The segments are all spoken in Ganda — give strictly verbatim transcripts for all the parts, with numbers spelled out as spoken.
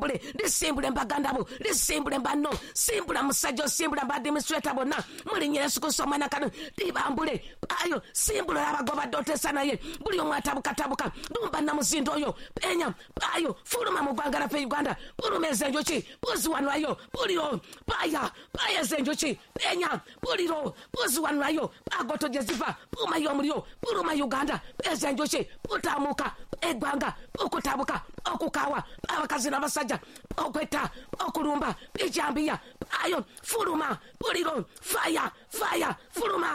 Libambule, lisimbule mbaganda bo, lisimbule mbanno, simbula musajja, simbula mbadministrator bonna, mulinnya Yesu Kristo omwana kano, libambule, ayo, simbula abagoba dotesa naye, buli omu atabukatabuka, lumba namuzinda oyo, penya, ayo, fuluma mu ggwanga laffe Uganda, buluma ezenjuki, buziwanwayo, buliro, paya, paya ezenjuki, penya, buliro, buziwanwayo, agoto gye ziva, bumayo omuliro, buluma Uganda, ezenjuki, butamuka, eggwanga, okutabuka, okukawa, abakazi n'abasajja, okwetta, okulumba, bijambiya, ayo, fuluma, buliro, fire, fire, fuluma.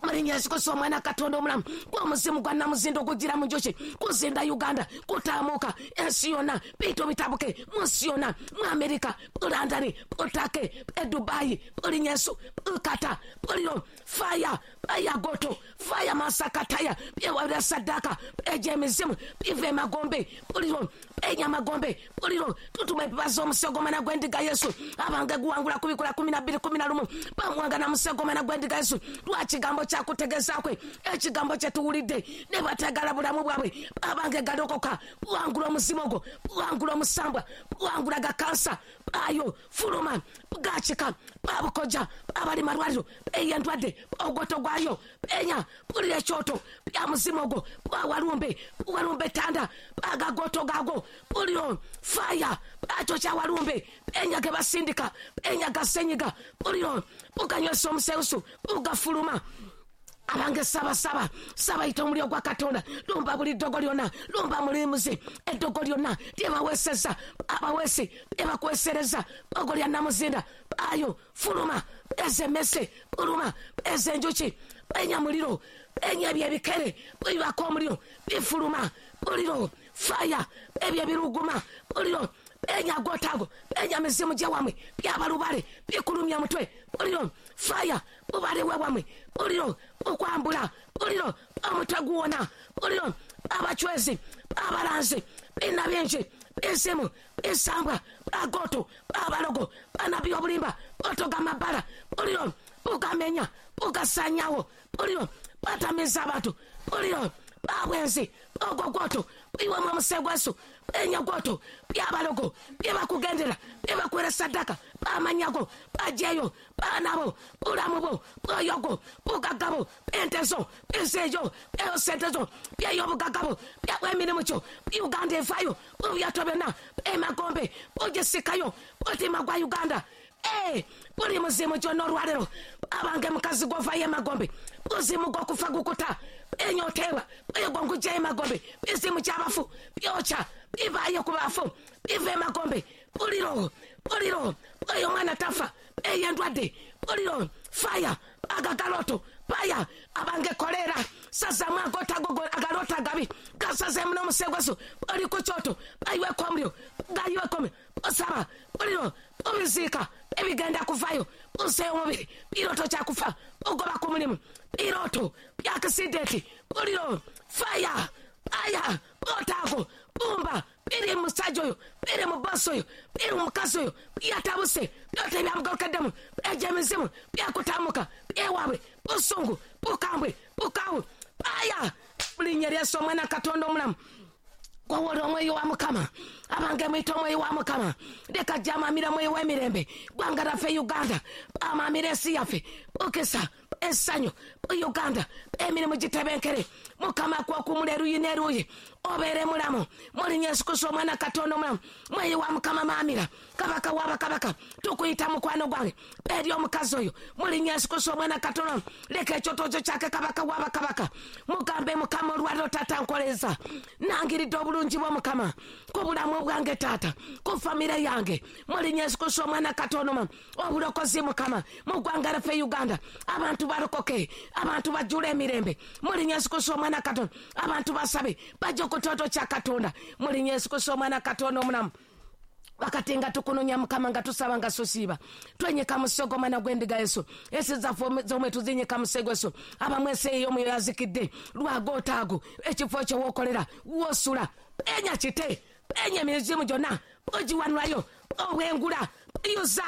Mulinnya Yesu Kristo omwana Katonda omulamu, gw'omuzimu gwa namuzinda ogugira mu njuki, kuzinda Uganda, kutaamuka ensi yonna, bintu bitabuke mu nsi yonna, mu Amerika, mu London, mu Turkey, e Dubai, mulinnya Yesu, bukata, buliro, fire, fire goto, fire masakataya, byewabira sadaka, egy'emizimu, biva emagombe, buliro, enyamagombe, buliro, tutuma ebibazo omusegomana gw'endiga Yesu, abange guwangula kubikola kumi na bbiri kumi na lumu, bamuwanga na musegomana gw'endiga Yesu, lwakigambo kyakutegeeza kwe, ekigambo kye tuwulidde, ne bateegala bulamu bwabwe, abange galokoka, buwangula omuzimu ogwo, buwangula omusambwa, buwangula ga kansa, ayo, fuluma, bugakika, babukoja, abali malwaliro, ey'endwadde, ogoto gwayo, enya, bulira ekyoto, bya muzimu ogwo, bwawalumbe, buwalumbe tanda, agagoto gago, buliro, fire, akyo kyawalumbe, enya ge basindika, enya gasenyiga, buliro, buganywesa omuseusu, bugafuluma. Abange saba saba saba yita omuliro gwa Katonda, lumba buli ddogo lyonna, lumba mulimuzi eddogo lyonna lyebaweeseza, abaweesi lyebakuweesereza, ddogo lya namuzinda, ayo fuluma, ez'emmese buluma, ez'enjuki, enya muliro, enya ebyo ebikere bibako omuliro bifuluma, buliro fire, ebyo ebiruguma buliro, enya gotago, enya mizimu gyewamwe byabalubale bikulumya mutwe, buliro fire, bubale wewamwe, buliro okwambula, buliro omutwe guwona, buliro abachwezi, abalanzi, bina bingi, bizimu, bisambwa, agoto, abalogo, banabi obulimba, botoga mabala, buliro bugamenya, bugasanyawo, buliro batamiza abantu, buliro babwenzi, ogogoto, biwemu omusegwesu, enyagoto, byabalogo, byebakugendera, byebakwera sadaka, bamanyago, bajeyo, banabo, bulamubo, bwoyogo, bugagabo, entezo, bizeyo, byosentezo, byeyobugagabo, byawemirimu kyo, Uganda evayo, bubyato byonna, emagombe, bugisikayo, butima gwa Uganda. Eh, buli muzimu gyonna olwaleero, abange mukazi gw'ovayo emagombe, buzimu gw'okufa gukuta, enyoteebwa, bwegonguggyayo emagombe, bizimu ky'abafu, byokya, bivaayo ku bafu, biva emagombe, buliro, buliro, oyo omwana tafa, ey'endwadde, buliro, fire, agagaloto, paya, abange kolera, sazamu agotago agalota agabi, gasazeemu n'omusegwesu, oli ku kyoto, bayiweko omuliro, gayiweko omuliro, osaba, buliro, obiziika, ebigenda kuvayo, buseeyo omubiri, biroto kyakufa, ogoba ku mulimu, biroto, byakisidenti, buliro, fire, paya, botaago, bumba, biri mu musajja oyo, biri mu bosi oyo, biri mu mukazi oyo, byatabuse, byota ebyamugalukaddemu, egy'emizimu, byakutamuka, byewaabwe, busungu, bukambwe, bukawu, paya, linnya lya Yesu omwana Katonda omulamu, gwowola omwoyo wa Mukama, abange muyite omwoyo wa Mukama, leka gyamamira mwoyo w'emirembe, ggwanga laffe Uganda, amamira ensi yaffe, bukisa, essanyu, Uganda, emirimu gitebenkere, Mukama akuwakumula eruyi n'eruyi, obeere mulamu, mulinnya Yesu Kristo omwana Katonda omulamu, mwoyo wa Mukama maamira, kabaka w'abakabaka, tukuyita mukwano gwange, eri omukazi oyo, mulinnya Yesu Kristo omwana Katonda, leka ekyotozo kyake kabaka w'abakabaka, mugambe Mukama olwaleero taata nkoleza, nangiridde obulungi bwo Mukama, ku bulamu bwange taata, ku famire yange, mulinnya Yesu Kristo omwana Katonda omulamu, obulokozi Mukama, mu ggwanga lyaffe Uganda, abantu balokoke, abantu bajjule emirembe, mulinnya Yesu Kristo omwana Katonda, abantu basabe, bajje ku kyoto kya Katonda, mulinnya Yesu Kristo omwana Katonda omulamu. Wakati nga tukunonya Mukama nga tusaba nga sosiiba, twenyeka musego omwana gw'endiga Yesu, ensi zaffe zomwe tuzinyeka musego Yesu, abamu ensi ey'omwoyo yazikidde lwagootaago, ekifo kyo wookolera woosula, enya kite, enya emizimu gyonna, ogiwanulayo, obwengula, yuza,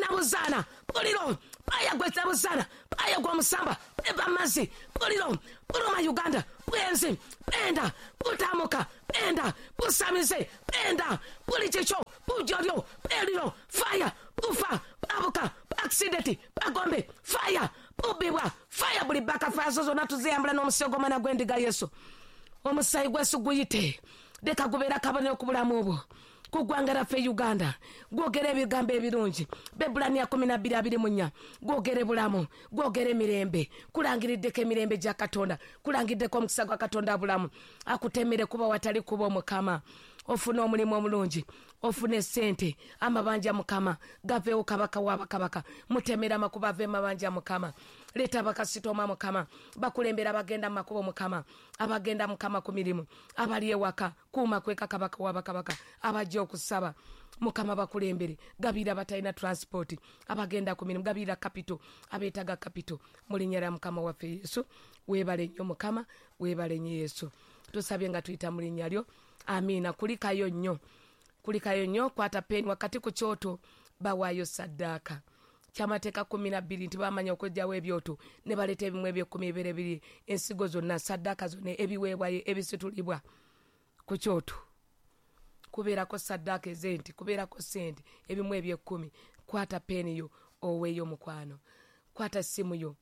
nabuzaana, buliro, Paya gwe tabuzana, paya gwe musamba, peba mazi, pulilo, puluma Uganda, puenzi, penda, putamuka, penda, pusamize, penda, pulichicho, pujolyo, pelilo, fire, pufa, pabuka, accident, pagombe, fire, pubibwa, fire buli baka fire zozo natuziyambula n'omusaayi gw'omwana gw'endiga Yesu. Omusaayi gwesu guyite, leka gubeera kabonero ku bulamu obwo. Ku ggwanga laffe Uganda, gwogera ebigambo ebirungi. Bebbulaniya kumi na bbiri abiri mu nnya, gwogere bulamu, gwogere mirembe, kulangiriddeko emirembe gya Katonda, kulangiddeko omukisa gwa Katonda bulamu, akutemere kuba watali kuba Omukama. Ofune omulimu omulungi, ofune ssente, amabanja Mukama gaveewo kabaka w'abakabaka, mutemere amakubo ave mabanja Mukama. Leeta abakasitoma Mukama, bakulembera abagenda mu makubo Mukama, abagenda Mukama ku mirimu, abali ewaka, kuuma kweka kabaka w'abakabaka, abajja okusaba Mukama bakulembere, gabira abatalina transport, abagenda ku mirimu, gabira kapito, abeetaaga kapito, mu linnya lya Mukama waffe Yesu. Weebale nnyo Mukama, weebale nnyo Yesu. Tusabye nga tuyita mu linnya lyo. Amiina. Kulikayo nnyo, kulikayo nnyo, kwata peni wakati ku kyoto, bawaayo saddaaka. Kyamateeka kumi na bbiri nti bamanya okweggyawo ebyoto ne baleeta ebimu eby'ekkumi ebibeere biri, ensigo zonna, saddaaka zonna, ebiweebwayo ebisitulibwa ku kyoto. Kubeerako saddaaka ez'ente, kubeerako ssente, ebimu eby'ekkumi. Kwata peni yo oweeyo mukwano. Kwata ssimu yo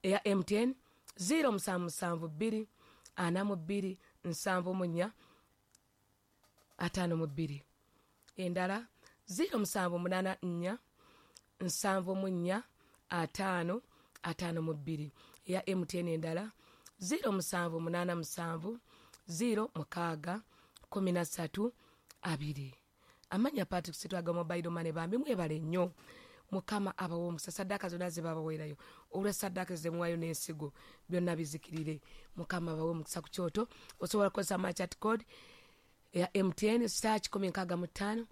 eya M T N zero musanvu musanvu bbiri ana mu bbiri nsanvu mu nnya ataano mu bbiri. Endala zero musanvu munaana nnya nsanvu mu nnya ataano ataano mu bbiri. Eya M T N endala zero musanvu munaana musanvu zero mukaaga kumi na ssatu abiri. Amanya Patrick Sitwaga mobile money bambi mwebale nnyo. Mukama abawe omukisa. Saddaaka zonna ze babaweerayo, olwa saddaaka ze muwaayo n'ensigo, byonna bizikirire. Mukama abawe omukisa ku kyoto. Osobola kukozesa merchant code ya M T N star kikumi nkaaga mu ttaano,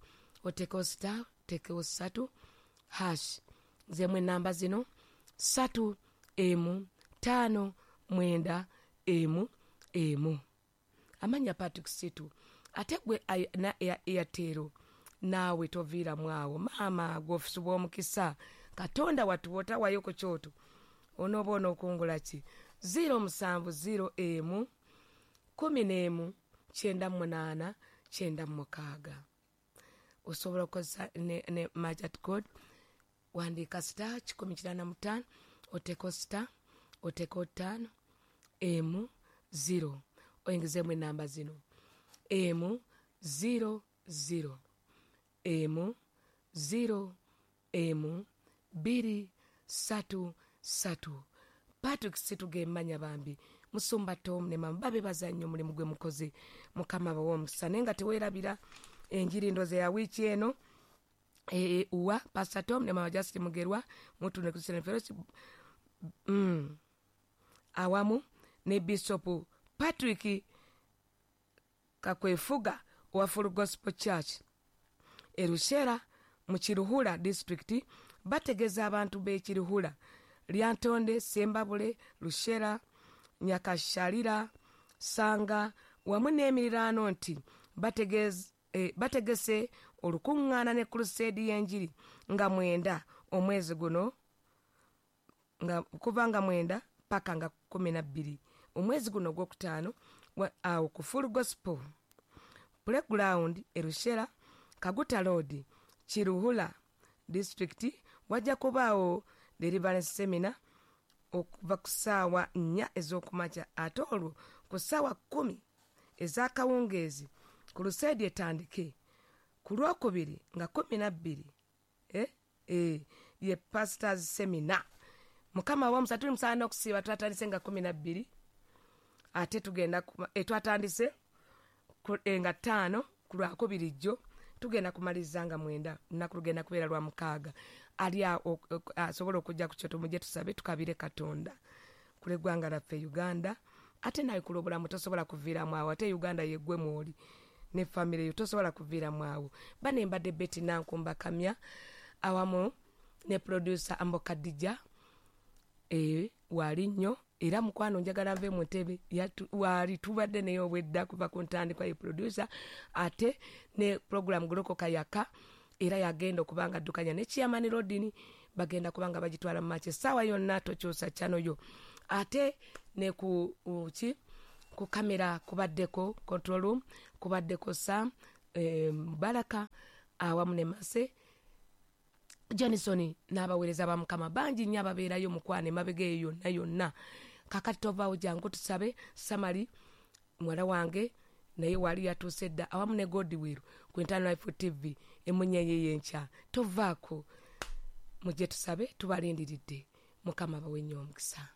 oteekewo star, oteekewo ssatu hash. Zemu ennamba zino ssatu emu ttaano mwenda emu emu. Amanya Patrick Situ. Ate gwe na Airtel naawe toviiramu awo. Maama gw'ofusibwa omukisa, Katonda watuwa otawayo ku kyoto, onooba onookungula ki? zero musanvu zero emu kumi n'emu kyenda munaana kyenda mukaaga. Osobola okukozesa ne, ne merchant code, wandiika star kikumi kinaana mu ttaano, oteeko star, oteeko ttaano emu zero, oyingizeemu ennamba zino emu zero zero emu zero emu bbiri ssatu ssatu. Patrick Situ ge mmanya bambi, Musumba Tom ne mama babebaza nnyo omulimu gwe mukoze. Mukama abawe omukisa. Naye nga teweerabira enjiri ndoze ya wiiki eno e, uwa Pastor Tom ne mama Justin Mugerwa Mutune Christian Fellowship mm, awamu ne Bishop Patrick Kakwefuga owa Full Gospel Church Erushera mu Kiruhura district. Bategeeza abantu b'e Kiruhura, Lyantonde, Sembabule, Lushera, Nyakasharira, Sanga wamu n'emiriraano nti bategeze eh, bategese olukuŋŋaana ne crusade y'enjiri nga mwenda omwezi guno, nga kuva nga mwenda paka nga kumi na bbiri omwezi guno ogwokutaano, awo ku Full Gospel Playground Erushera, Kaguta Road, Kiruhura district. Wajja kubaawo deliverance seminar okuva ku ssaawa nnya ez'okumakya, ate olwo ku ssaawa kkumi ez'akawungeezi ku luseedi etandike. Ku lwokubiri nga kumi na bbiri eh, eh, ye pastors seminar. Mukama wa musa, tuli musaana okusiiba. Twatandise nga kumi na bbiri, ate tugenda eh, twatandise eh, nga ttaano ku lwakubiri jjo, tugenda kumaliriza nga mwenda. Lunaku lugenda kubeera lwa mukaaga. Ali asobola okujja ku kyoto, mujje tusabe tukabire Katonda kule ggwanga laffe Uganda. Ate nawe kula obulamu tosobola kuviiramu awo. Ate Uganda yeggwe mwoli ne famire yo, tosobola kuviiramu awo. Bane mbadde Betty Nankumba Kamya awamu ne producer Ambo Kadija e, wali nnyo era mukwano njagala nve mu ntebe wali tubadde naye obwedda kuva ku ntandikwa ye producer, ate ne program Golokoka Yaka era yagenda okubanga addukanya ne Chairman Rodini. Bagenda kubanga bagitwala mu maaso essaawa yonna, tokyusa channel yo. Ate ne ku ki ku kamera kubaddeko control room, kubaddeko Sam eh, Baraka awamu ne Mase Johnson n'abaweereza ba Mukama bangi nnyo ababeerayo mukwana emabega eyo yonna yonna. Kakati tovaawo, jangu tusabe. Samali muwala wange naye wali yatuuse dda awamu ne Godwill ku Internal Life T V emunyenye y'enkya. Tovaako, mujje tusabe, tubalindiridde. Mukama abawe nnyo omukisa.